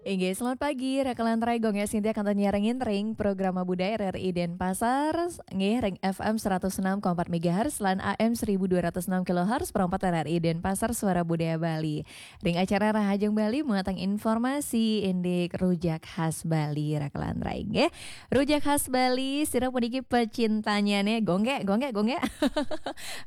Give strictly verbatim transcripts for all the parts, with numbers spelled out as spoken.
Inggih, selamat pagi, Raka lan Rai. Gung Sintia kantun nyarengin ring programa Budaya R R I Denpasar, nggih, ring F M seratus enam koma empat megahertz lan A M seribu dua ratus enam kilohertz, perempat R R I Denpasar, Suara Budaya Bali. Ring acara Rahajeng Bali, muatan informasi indik rujak khas Bali, Raka lan Rai, nggih. Rujak khas Bali, sira puniki pecintanya nih, gung gé, gung gé, gung gé.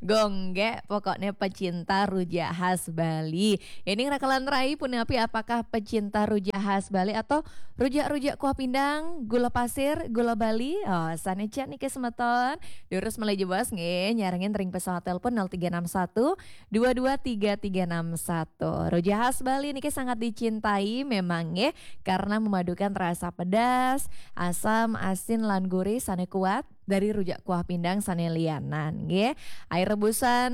Gung gé, pokoknya pecinta rujak khas Bali. Ini Raka lan Rai, punapi apakah pecinta rujak khas Bali atau rujak-rujak kuah pindang, gula pasir, gula Bali? Oh, sané jak niki semeton. Durus malih jebos nggih, nyarengin ring pesawat telepon nol tiga enam satu dua dua tiga tiga enam satu. Rujak khas Bali niki sangat dicintai memang nggih, karena memadukan rasa pedas, asam, asin, lan gurih sané kuat dari rujak kuah pindang sané lianan nggih. Air rebusan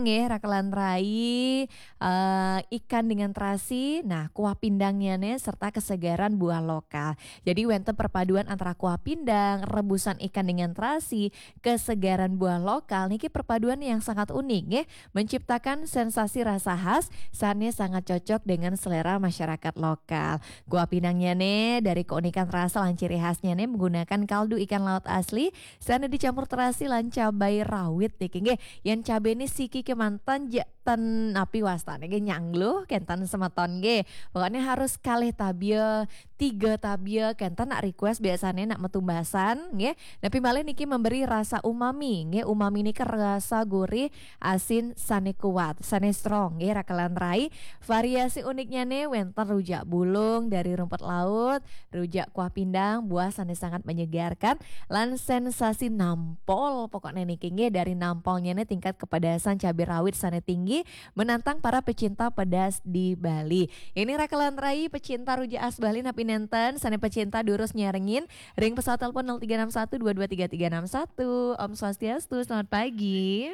nggih, Raka lan Rai, eh, ikan dengan terasi, nah, kuah pindangnyané serta kesegaran buah lokal. Jadi wénten perpaduan antara kuah pindang, rebusan ikan dengan terasi, kesegaran buah lokal niki perpaduan yang sangat unik nggih, menciptakan sensasi rasa khas sané sangat cocok dengan selera masyarakat lokal. Kuah pindangnyané dari keunikan rasa lan ciri khasnyané menggunakan kaldu ikan laut asli sané dicampur terasi lan cabai rawit niki nggih. Yén cabainé siki kémanten ja ten napi wastané nggih, nyangluh kénten semeton nggih. Pokoknya harus kalih tabia, tiga tabia kénten nak request biasané nak metumbasan nggih. Napi malih niki memberi rasa umami nggih. Umami niki rasa gurih asin sané kuat, sané strong nggih, Raka lan Rai. Variasi uniknyané wénten rujak bulung dari rumput laut, rujak kuah pindang, buah sané sangat menyegarkan, lan sensasi nampol. Pokoknya niki nggih, dari nampolnyané tingkat kepedasan cabai rawit sané tinggi, menantang para pecinta pedas di Bali. Ini Raka lan Rai, pecinta rujak khas Bali napi nénten, sané pecinta durus nyarengin ring pesawat telepon nol tiga enam satu dua dua tiga tiga enam satu. Om Swastiastu, selamat pagi.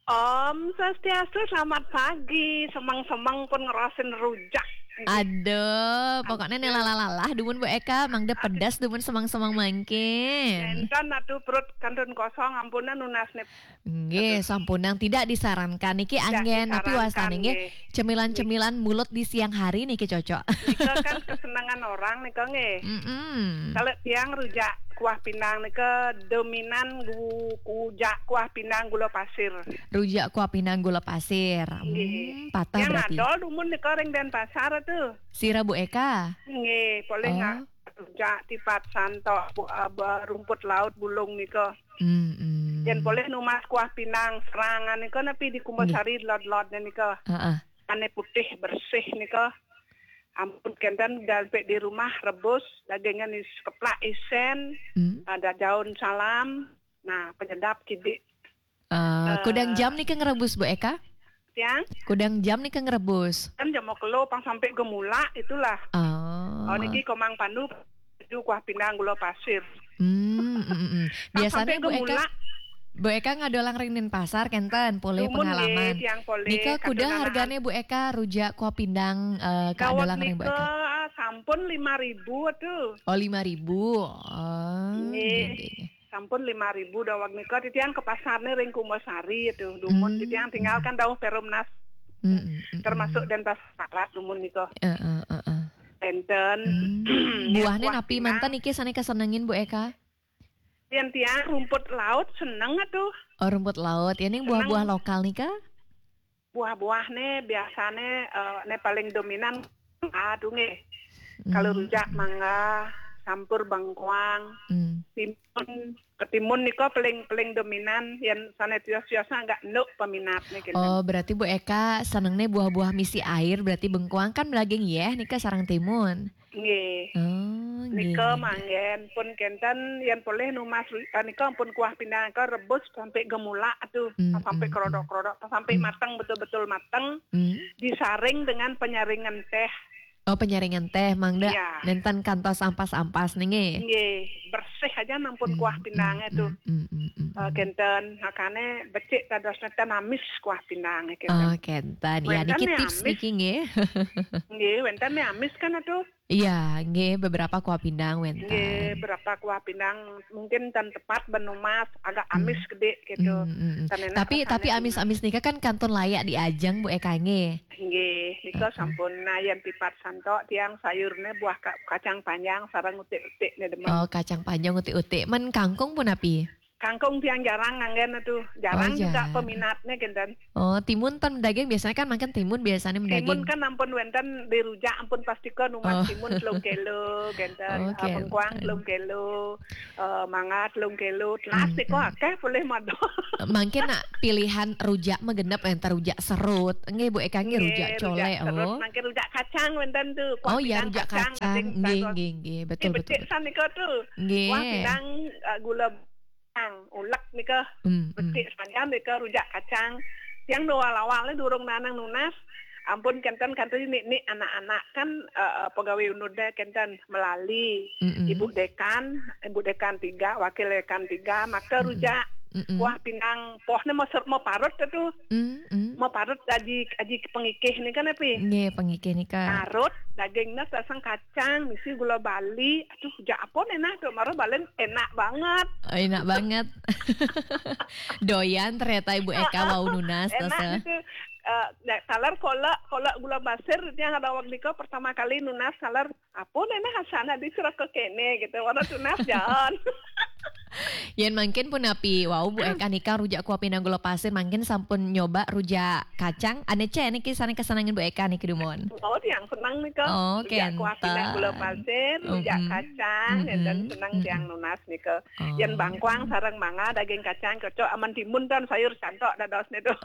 Om Swastiastu, selamat pagi. Semeng-semeng pun ngerasin rujak. Aduh, pokoknya nih lalah-lalah dumun Bu Eka, mangda pedas dumun semeng-semeng mangkin. Nénten atuh perut kantun kosong, ampunan nunas nih. Nggih, sampunang tidak disarankan. Niki anggén napi wastané nggih? Cemilan-cemilan mulut di siang hari niki cocok. Nika kan kesenangan orang nika nggih. Mm-mm. Kalau tiang rujak kuah pindang nika dominan gu-, rujak kuah pindang gula pasir. Rujak kuah pindang gula pasir. Nggih. Hmm, patah berarti. Yang adol dumun nika ring Denpasar tuh. Sira Bu Eka? Nggih, boleh nggak? Oh. Rujak tipat santok bu-, eh, ba-, rumput laut bulung nika. Hmm, hmm. Yén polih numas kuah pinang serangan nika napi di Kumbasari lod-lod nika. Heeh. Ané putih bersih nika. Ampun kénten dampé di rumah rebus, dagingnya nih keplak isén, hmm, ada daun salam. Nah, penyedap kidik. Eh, kudang jam nika ngrebus, Bu Eka? Tiang? Kudang jam nika ngrebus. Kan jam kelo pang sampai gemulak itulah. Oh. Oh, niki Komang Pandu, itu kuah pindang gula pasir. Hmm, mm, mm, mm. Biasanya Bu Eka, Bu Eka ngadolang ring Denpasar kénten, polih pengalaman. Tiang polih, nika kuda harganya Bu Eka, rujak kuah pindang, eh, kadolang ring Bu Eka? Daweg nika sampun lima ribu tuh. Oh, lima ribu. Oh, nggih, nggih. Sampun lima ribu daweg nika, titiang ke pasarnya ring Kumbasari itu. Dumun titiang tinggalkan dauh Perumnas. Mm, mm, mm, termasuk Denpasar dumun nika. Heeh, heeh. Enten. Hmm. Buahnya napi manten niki sané kasenengin Bu Eka? Yén tiang rumput laut seneng atuh. Oh, rumput laut. Ya, ning buah-buah lokal nika? Buah-buahné biasané, eh, né paling dominan, aduh nggih. Kalau rujak mangga, sampur bengkoang, timun, ketimun nika paling, paling dominan, yén sané tios-tiosnya agak enduk peminatnya gitu. Oh, berarti Bu Eka senengné buah-buah misi air, berarti bengkoang kan daging yéh nika sareng timun. Nggih. Oh, nggih, nika nggih, nggih. Manggén pun kénten yén polih numas, eh, nika ampun kuah pindang nika rebus sampai gemulak tuh, sampai kerodok-kerodok, sampai mateng, betul-betul mateng, disaring dengan penyaringan teh. Oh, penyaringan teh, mangda nénten kantos ampas-ampas nih, nggih. Nggih, bersih aja ampun kuah pindangnya tuh. Eh, kénten, makanya becik dados nénten amis kuah pindangnya kénten. Oh, kénten. Ya, niki tips niki, nggih. Nggih, wénten nih amis kan atuh. Iya, nggih, beberapa kuah pindang wénten. Nggih, beberapa kuah pindang mungkin ten tepat benumas, agak amis gedé gitu. Hmm, hmm, hmm. Tapi, tapi amis-amis nika kan kantun layak diajeng, Bu Eka, nggih. Nggih, nika sampun. Nah, yén tipat Tok tiang sayurnya buah ka-, kacang panjang sareng utik-utik ne demen. Oh, kacang panjang utik-utik. Men kangkung pun api? Kangkung tiang jarang nganggen tuh. Jarang juga peminatnya genten. Oh, timun ten daging biasanya kan makan timun biasanya mendaging. Timun kan ampun wenten di rujak ampun pasti ke numan timun telung kilo genten. Oh, eh, bengkuang telung kilo. Eh, mangga telung kilo. Telas hmm, tiko hmm. Akeh boleh madol. Mangkin nak pilihan rujak mah genep enten rujak serut. Nggih, Bu Eka nggih, rujak cole, rujak serut, oh. Mangkin rujak kacang wenten tuh. Oh iya, rujak kacang. Nggih, nggih, nggih. Betul, betul. Becik san nika tuh. Nggih. Kuah pindang, eh, gula kacang, ulek nika. Hmm, hmm. Becik saja nika rujak kacang. Yang awal-awalnya durung nanang nunas, ampun kenten kenten nik-nik anak-anak kan, eh, pegawai unud deh kenten melali. Mm-mm. Ibu dekan, ibu dekan tiga, wakil dekan tiga, maka rujak kuah pindang, pohnya mau ser-, mau parut tuh. Mm-mm. Mau parut aji, aji pengikih nih kan, Pi? Nggih, pengikih nih, Kak. Parut, dagingnya sasang kacang, misi gula bali. Aduh, rujak apa nih nah? Tuh, maro balen enak banget. Oh, enak banget. Doyan ternyata Ibu Eka wau nunas, enak gitu. Eh, taler kolak, kolak gula pasir, yang ada waktu itu pertama kali nunas taler apa nene hasana di Surakarta kene gitu. Warna tunas jalan. Yen mangkin pun api, wau Bu Eka nika rujak kuah pindang gula pasir, mangkin sampun nyoba rujak kacang. Ane ce niki sane kesenangan Bu Eka niki dumun. Oh, tiang senang nika. Oh, rujak kuah pindang gula pasir, rujak kacang, dan senang tiang nunas nika. Oh. Yen bangkuang sareng mangga daging kacang cocok aman timun dan sayur santok dados niku.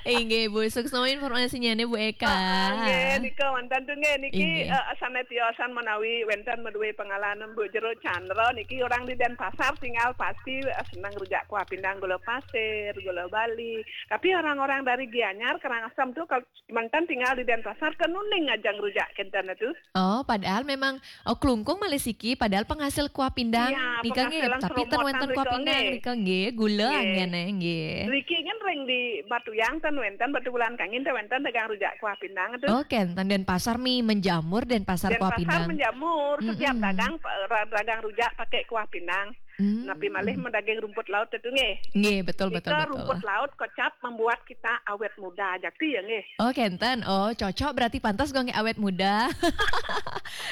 Inggih, Bu. Suksma informasinya nih, Bu Eka. Ah, nggih, nika wonten tuh nggih niki, eh, sané tiosan menawi wénten meduwe pengalaman Bu Jero Chandra niki orang di Denpasar tinggal pasti, eh, seneng rujak kuah pindang gula pasir, gula bali. Tapi orang-orang dari Gianyar, Karangasem tuh kalau mantan tinggal di Denpasar kan nuning ajang rujak kenten tuh. Oh, padahal memang, oh, Klungkung malih siki, padahal penghasil kuah pindang. Iya, nika nggih, penghasil tapi ten wénten kuah pindang nika nggih, gula anggen nggih. Riki kan ring di Batuyang ten wénten, Batubulan Kangin ten wénten dagang rujak kuah pindang tuh. Oh, kenten Denpasar mi menjamur, Denpasar kuah pindang. Denpasar menjamur, setiap dagang, eh, ra-, dagang rujak pakai kuah pindang. Hmm. Napi malih mendaging rumput laut itu nggih. Nggih, betul, betul, betul. Rumput laut kocap membuat kita awet muda. Jakti ya nggih. Oh, kenten. Oh, cocok berarti pantas gue nggih awet muda.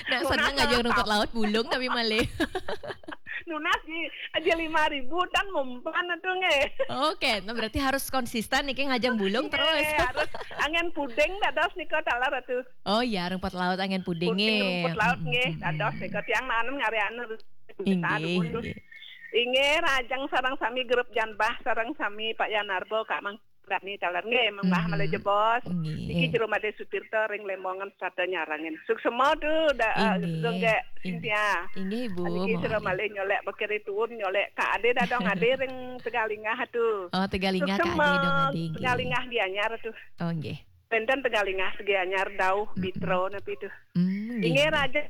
Nak seneng aja rumput laut bulung tapi malih. Nunas di aja lima ribu dan mempan itu nggih. Oh, kenten. Berarti harus konsisten nih ngajeng bulung terus. Harus angin puding dados nika taler atuh. Oh iya, rumput laut angin puding nggih. Rumput laut nggih, dados nika tiang nanem ngarian Inggih, inggih. Inggih, rajang sareng sami grup Janbah, sareng sami Pak Yanarbo, Kak Mang Dani taler nggih, Mbah Malih Jebos. Nggih. Niki Jero Made Sutirta ring Lemongan Strata Nyarangin. Suksma tu da, eh, inggih, Cynthia. Inggih, Ibu. Niki Jero Malih nyolek bekiri tuun, nyolek Kak Ade dadong Ade ring Tegalingah tu. Oh, Tegalingah Kak Ade dong Ade, nggih. Tegalingah Gianyar tu. Oh, nggih. Wénten Tegalingah Gianyar dauh Bitro napi tuh. Hmm, inggih, nggih. Raja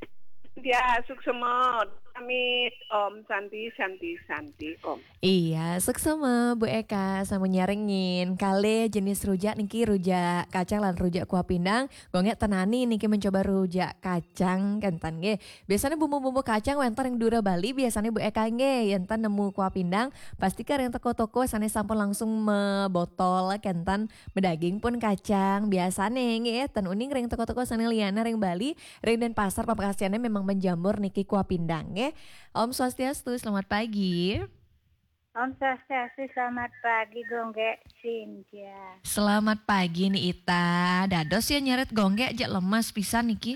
dia suksma amit Om Santi, Santi, Santi, Om. Iya, suksma Bu Eka sampun nyarengin. Kalih jenis rujak niki rujak kacang lan rujak kuah pindang. Gue nggih ten wani niki mencoba rujak kacang kenten nggih. Biasanya bumbu-bumbu kacang wénten ring Dura Bali, biasanya Bu Eka nggih, yénten nemu kuah pindang, pasti ka ring toko-toko sané sampun langsung mebotol kenten medaging pun kacang. Biasanya nggih, ten uning ring toko-toko sané liana ring Bali, ring Denpasar pamekasane memang menjamur niki kuah pindang nggih. Om Swastiastu, selamat pagi. Om Swastiastu, selamat pagi, Gung Gek Cynthia. Selamat pagi, Ni Ita. Dados ya nyeret Gung Gek, jek lemes pisan niki.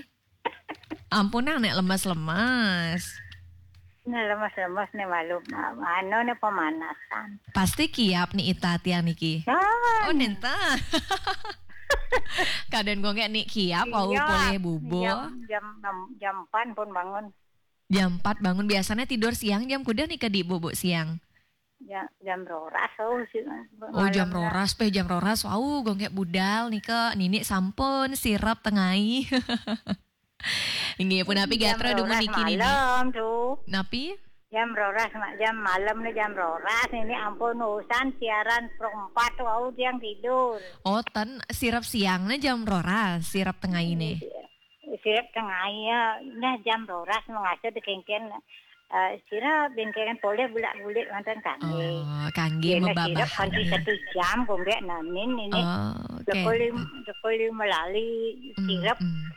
Ampunang nek lemes-lemes. Nek lemes-lemes nih malu, anu nih pemanasan. Pasti kiap nih Ita tiang niki. Oh, nenten. Kadén Gung Gek nih kiap, wau polih bubuh. Jam, jam, jam empat pun bangun. Jam empat bangun. Biasanya tidur siang jam kuda nih ke di bubuk siang. Ya, jam roras, oh, si-, oh, jam roras, peh jam roras. Wau, Gung Gek budal nika, nini sampun sirep tengai. Inggih, punapi gatra dumun niki nini. Jam roras malam tuh. Napi? Jam roras, ma-, jam malam nih jam roras. Ini ampun, usan siaran perempat, wau, tiang tidur. Oh, ten sirep siang nih jam roras, sirep tengai nih. Iya. Sirep tengai ya, nah jam roras mengasuh dikengken. Eh, sira bengkelen poleh bulak-bulik manten kangge. Oh, kangge. Yena sira kanti satu jam kongge nanin ini. Oh, okay. Joko lim, joko lim melali sirap. Hmm.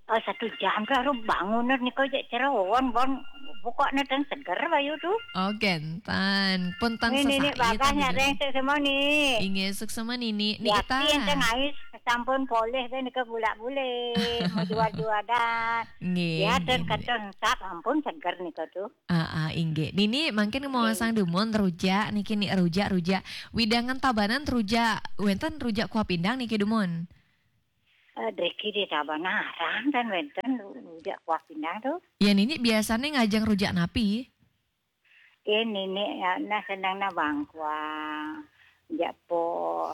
Oh, satu jam tu harus bangun nih kau cek cerawon bon pokoknya tan seger bayu tu. Oh, gentan. Pun tan ini, ini bagahnya reng semua nih. Inge suk semua nini. Ni ya, kita. Yang tengah sampun poleh kan ke bulak-bulik. Mau jual-jual dah. Nggih. Ya, dan kacang sap ampun seger nih kau tu. Ah, ah, inggih. Nini mangkin mau sang dumun rujak niki ni rujak-rujak. Widangan Tabanan rujak wenten rujak kuah pindang niki dumun. Eh, driki di Tabanan arang dan wenten rujak kuah pindang tu. Ya nini biasanya ngajeng rujak napi? Ini ni ya, nah senang na bangkuang, japo.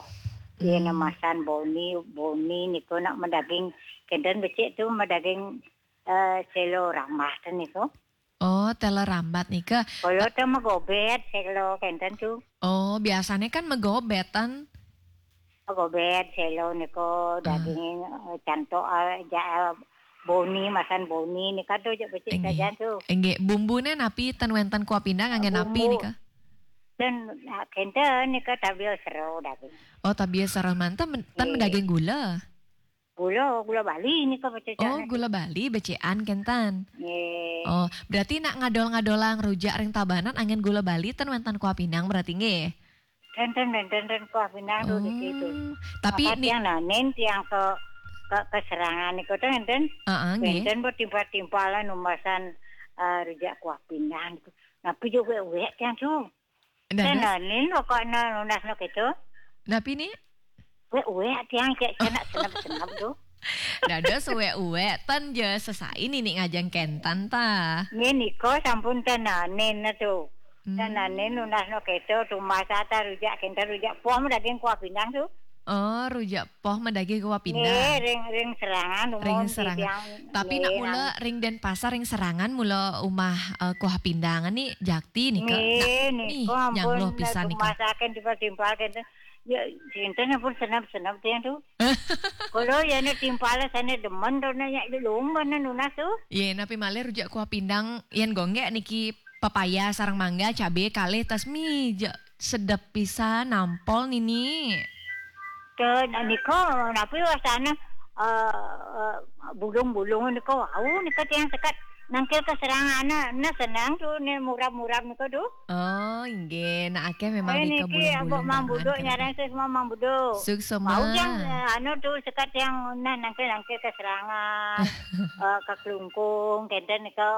Iya hmm. Namasan boni, boni niko nak medaging kenten becik tu medaging uh, selo ramah tu niko. Oh, tela rambat nika. Kalau tu megobet selo kenten tu. Oh, biasanya kan megobetan. Megobet selo niko daging uh. Cantok uh, ja, uh, boni masan boni nika tu je becik saja tu. Enggak, bumbune napi ten wenten kuah pindang anggen napi nika? Dan uh, kenten nika tabil sero daging. Oh, tabil sero manten ten daging gula. Gula, gula Bali ni kau baca. Oh, gula Bali becian kentan. Yeah. Oh, berarti nak ngadol-ngadolang rujak ring Tabanan angin gula Bali ten wenten kuah pinang berarti nggih. Ten ten ten ten kuah pinang tu di situ. Tapi ni yang nanin tiang ke ke keserangan ni kau ten ten. Heeh, nggih. Ten bertimpal-timpalan umasan uh, rujak kuah pinang. Tapi juga wek tiang tu. Tenanin pokoknya nunas no gitu. Napi ni? Wek-wek tiang cek cenak senap-senap tu. Dados wek-wek tan je sesai nini ngajeng kentan ta. Ni niko sampun tenanin tu. Hmm. Tenanin nunas no gitu tumasa ta rujak kentan rujak pom daging kuah pindang tu. Oh, rujak poh medagih kuah pindang. Nggih, ring ring serangan umum. Ring serangan. Tapi nak mula ring Denpasar ring serangan mula umah uh, kuah pindang ni jakti nika. Nggih, nika nyang loh pisan nika. Masakan timpal-timpal kenten. Ya, cinta pun senap-senap tiang tu. Kalau ya ni timpal sana demen tu nak yak lumba na nunas tu. Ye, napi malih rujak kuah pindang yang gonggek niki pepaya sareng mangga cabe kalih tas mi je sedep pisan nampol nini. Ke niko napi wasana uh, uh, bulung-bulung niko wau niko tiang sekat nangkil keserangan na senang tu ni murab-murab niko tu. Oh, inggih. Nak akeh memang eh, niko niki bulung-bulung. Abok Mang Buduk nyarang semua Mang Buduk. Suksema. Mau yang uh, anu tu sekat yang nah nangkil-nangkil keserangan uh, kekelungkung kenten niko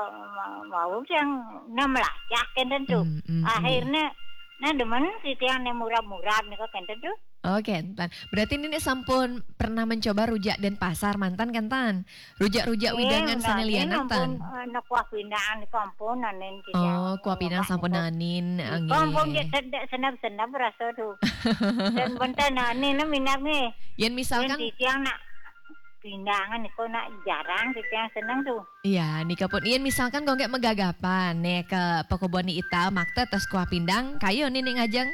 mau yang nah melacak kenten tu. Hmm, hmm, akhirnya nah demen si tiang ni murab-murab niko kenten tu. Oh, kenten. Berarti nini sampun pernah mencoba rujak Denpasar manten kenten? Rujak-rujak eh, widangan sana lianan tan. Nak kuah pindang niko ampun nanin. Oh, kuah pindang sampun nanin. Ampun je sedek senap-senap rasa tu. Dan bentar nanin lah minap ni. Yang misalkan si tiang nak pindangan niko nak jarang si tiang senang tu. Iya, nika pun. Yen misalkan gonggek megagapan nih ke pekebon ni ita makta tas kuah pindang, kayo ni nih ngajeng.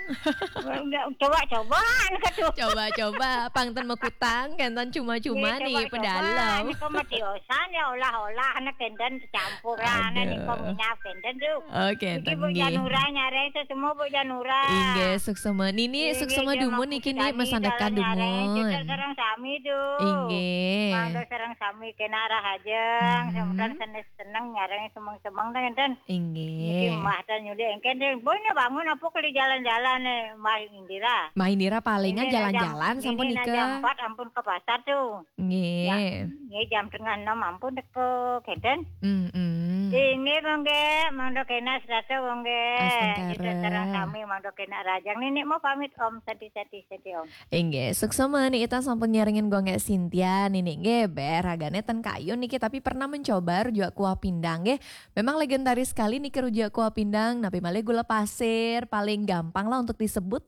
Coba-coba nih tu. Coba-coba, pang ten mekutang, kan ten cuma-cuma nih pedalem. Nika mati osan ya olah-olah nih kenten campuran nih kau minyak kenten tu. Oke, tenggi. Janura nyare itu semua bu janura. Inggih, suksema. Nini suksema dumun niki ni mesandekan dumun. Sarang sami tu. Inggih. Mangga sarang sami kena rahajeng, hmm. Semoga seneng-seneng nyarang semeng-semeng ten. Inggih. Niki mah tan nyuli engken deh. Boy bangun apa kali jalan-jalan nih, Mah Indira. Mah Indira palingan jalan-jalan sampun nika. Jam empat ampun ke pasar tu. Nggih. Ya, nggih jam tengah enam ampun teko kenten. Hmm, hmm. Inggih mongge, monggo kena serasa mongge. Astungkara. Kita sareng sami monggo kena rajang nini mau pamit Om sati-sati sati Om. Inggih, suksema ni ita sampun nyarengin gonggek Sintia nini nggih, ber ragane ten kayu niki tapi pernah mencoba rujak kuah pindang nggih. Memang legendaris sekali niki rujak kuah pindang, napi malih gula pasir, paling gampang lah untuk disebut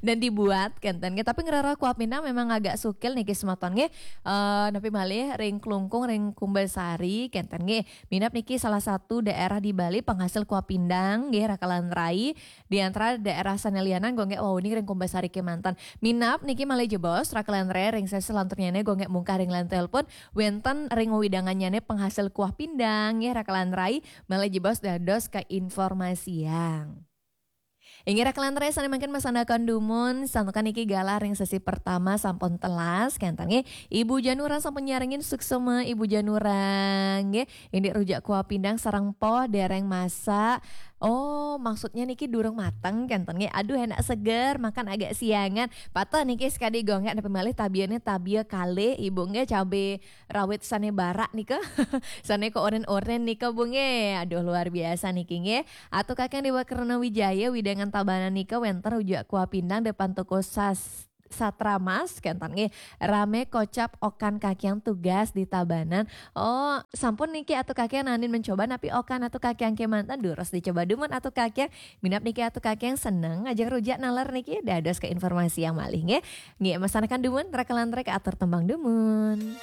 dan dibuat kenten nggih. Tapi ngerara kuah pindang memang agak sukil niki semeton nggih. Eh, napi malih ring Klungkung ring Kumbasari kenten nggih. Minap niki salah salah satu daerah di Bali penghasil kuah pindang nggih raka lan rai, di antara daerah sané liyanan go nggih wau ning ring Kumbasari kémanten. Minab niki malih jebos raka lan rai ring sesi selanturnyane go nggih mungkah ring line telepon wenten ring wewidangannyane penghasil kuah pindang nggih raka lan rai malih jebos dados keinformasiang. Inggih raka lan rai sane mangkin masanakan dumun, santukan niki galah ring sesi pertama sampun telas, kenten nggih. Ibu Janura sampun nyarengin suksema Ibu Janura nggih. Indik rujak kuah pindang sareng poh dereng masak. Oh, maksudnya niki durung mateng kenten nggih. Aduh enak seger, makan agak siangan. Patah niki sekadi gonggak nepi malih tabiane tabia kalih Ibu nggih cabe rawit sane barak nika. Sane kok oren-oren nika Bu nggih. Aduh luar biasa niki nggih. Atu Kakang Dewa Karna Wijaya wewidangan Tabanan nika wenten rujak kuah pindang depan toko sas Satra Mas kenten nggih. Rame kocap okan kakiang tugas di Tabanan. Oh, sampun niki Atu Kakiang nanin mencoba napi okan Atu Kakiang kemanten durus dicoba dumun Atu Kakiang. Minab niki Atu Kakiang seneng ngajeng rujak naler niki dados keinformasiang malih nggih. Nggih, masanakan dumun raka lan rai atur tembang dumun.